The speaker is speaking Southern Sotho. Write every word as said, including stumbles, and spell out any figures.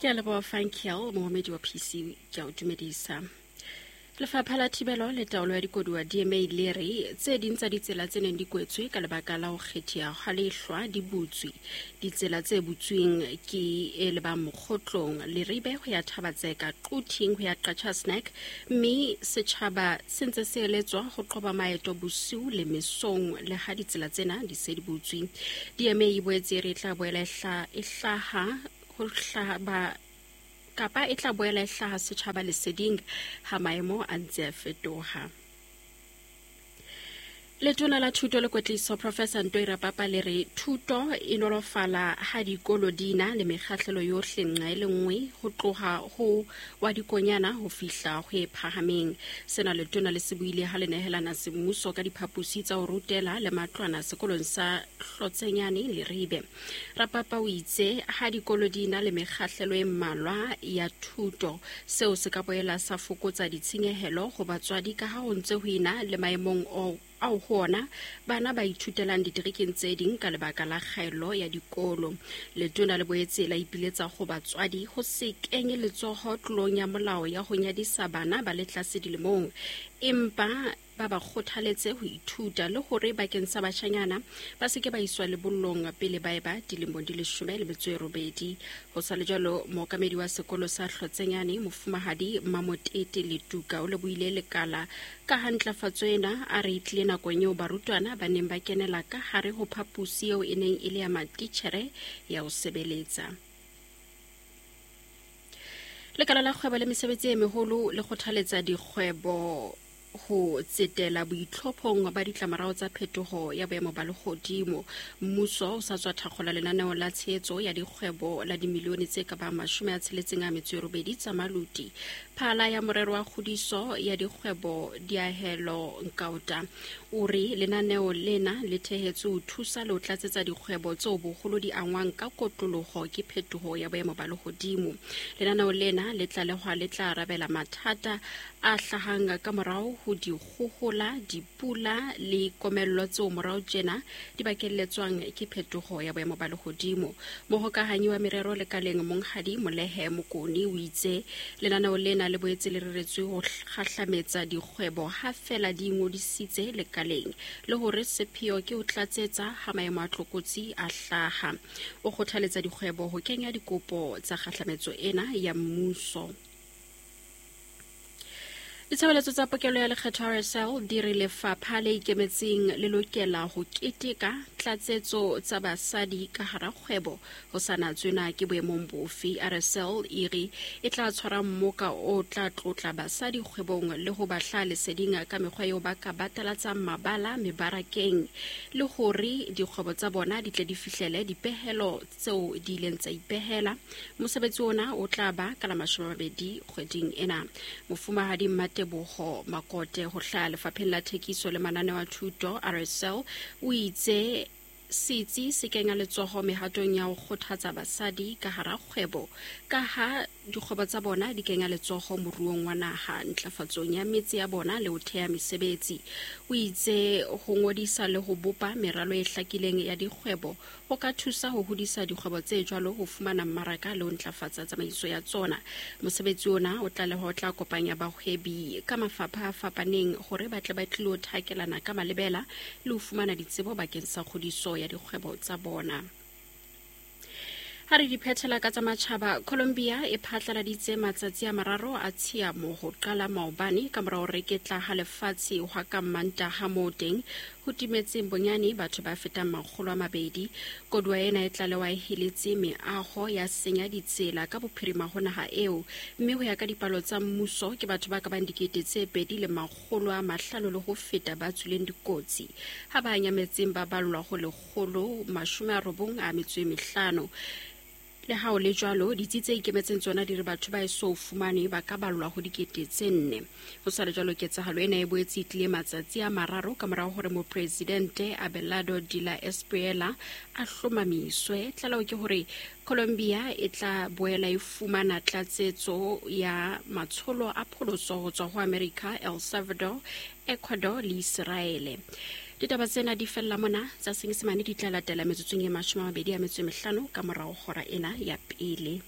Ke a leboha Frankel, mookamedi wa P C, ke a o dumedisa. Lefapha la Thibelo le Taolo ya Dikoduwa D M A le re tse ding tsa ditsela tse neng di kwetswe ka lebaka la ho kgetheha ha lehlwa di butswe. Ditsela tse butsweng ke e lebang Mokgotlong, Leribe ho ya Thabatseka, Quthing ho ya Qacha's Nek, mme setjhaba se ntse se eletswa ho qoba maeto bosiu le mesong le ha ditsela tsena di se di butswe. D M A e boetse e re e tla boela e hla-, e hlaha ho hlaba kapa e tla boela e hlaha setjhaba leseding ha maemo a ntse a fetoha. Letona la Thuto le Kwetliso Professor Ntoi Rapapa le re thuto e nolofala ha dikolo di na le mekgahlelo yohle nqa e le nngwe ho tloha ho wa dikonyana ho fihla ho e phahameng. Sena letona le se buile ha le nehelana semmuso ka diphaposi tsa ho rutela le matlwana sekolong sa Hlotsenyane Leribe. Rapapa o itse ha dikolo di na le mekgahlelo e mmalwa ya thuto, seo se ka boela sa fokotsa ditshenyehelo ho batswadi ka ha ho ntse ho ena le maemong o ao ho ona bana ba ithutelang diterekeng tse ding ka lebaka la kgaello ya dikolo. Letona le boetse la ipiletsa ho batswadi ho se kenye letsoho tlolong ya molao ya ho nyadisa bana ba le tlase dilemong, empa ba ba kgothaletse ho ithuta le hore bakeng sa bashanyana ba se ke ba iswa lebollong pele ba eba dilemong di leshome le metso e robedi. Ho sa le jwalo, mookamedi wa sekolo sa Hlotsenyane, Mofumahadi Mamotete Letuka, o lebohile lekala ka ha ntlafatso ena a re e tlile nakong eo barutwana ba neng ba kenela ka hare ho phaposi eo e neng e le ya matitjhere ya ho sebeletsa. Lekala la kgwebo le mesebetsi e meholo le kgothaletsa dikgwebo ho tsetela boitlhophong ba ditlamorao tsa phetoho ya boemo ba lehodimo. Mmuso o sa tswa thakgola lenaneo la tshehetso ya dikgwebo la dimilione tse ka bang mashome a tsheletseng a metso e robedi tsa maluti. Phala ya morero wa kgodiso ya dikgwebo Diahelo Nkaota o re lenaneo lena le thehetswe ho thusa le ho tlatsetsa dikgwebo tseo boholo di angwang ka kotloloho ke phetoho ya boemo ba lehodimo. Lenaneo lena le tlalehwa le tla arabela mathata a hlahang ka morao ho dikgohola, dipula le komello tseo morao tjena di bakelletswang ke phetoho ya boemo ba lehodimo. Mohokahanyi wa merero lekaleng Monghadi Molehe Mokone o itse lenaneo lena le boetse le reretswe ho kgahlametsa dikgwebo ha feela di ingodisitse lekaleng, le hore sepheo ke ho tlatsetsa ha maemo a tlokotsi a hlaha. O kgothaletsa dikgwebo ho kenya dikopo tsa kgahlametso ena ya mmuso. Ditshebeletso tsa pokelo ya lekgetho R S L di re lefapha le ikemetseng le lokela ho keteka tlatsetso tsa basadi ka hara kgwebo ho sa natswe na ke boemong bofe. R S L e re e tla tshwara mmoka o tla tlotla basadi kgwebong le ho ba hlaha leseding ka mekgwa eo ba ka batalatsang mabala mebarakeng, le hore dikgwebo tsa bona di tle di fihlele dipehelo tseo di ileng tsa ipehela. Mosebetsi ona o tla ba ka la mashome a mabedi kgweding ena. Mofumahadi Teboho Makote ho hlaha lefapheng la thekiso le mananeo a thuto R S L o itse setsi se kenya letsoho mehatong ya ho kgothatsa basadi ka hara kgwebo, ka ha dikgwebo tsa bona di kenya letsoho moruong wa naha, ntlafatsong ya metse ya bona le ho theha mesebetsi. O itse ho ngodisa le ho bopa meralo e hlakileng ya dikgwebo ho ka thusa ho hodisa dikgwebo tse jwalo ho fumana mmaraka le ho ntlafatsa tsamaiso ya tsona. Mosebetsi ona o tlaleha o tla kopanya bahwebi ka mafapha a fapaneng hore ba tle ba tlilo thakelana ka malebela le ho fumana ditsebo bakeng sa kgodiso ya dikgwebo tsa bona. Ha re di phethela ka tsa matjhaba, Colombia e phatlaladitse matsatsi a mararo a tshiamo ho qala maobane ka mora ho reketla ha lefatshe hwa ka Mantaha moo teng ho timetseng bonyane batho ba fetang makgolo a mabedi. Koduwa ena e tlalewa e heletse meaho ya senya ditsela ka bophirima ho naha eo, mme ho ya ka dipalo tsa mmuso ke batho ba ka bang dikete tse pedi le makgolo a mahlano le ho feta ba tswileng dikotsi, ha ba nyametseng ba ballwa ho lekgolo mashome a robong a metso e mehlano. Le ha ho le jwalo, ditsi tse ikemetseng tsona di re batho ba eso fumane ba ka ballwa ho dikete tse nne. Ho sa le jwalo, ketsahalo ena e boetse e tlile matsatsi a mararo ka morao hore mopresidente Abelardo de la Espriella a hlomamiswe. Tlaleho ke hore Colombia e tla boela e fumana tlatsetso ya matsholo a pholoso ho tswa ho America, El Salvador, Ecuador le Israele. Ditaba tsena di fella mona, tsa Senyesemane di tla latela metsotsong e mashome a mabedi a metso e mehlano ka morao hora ena ya pele.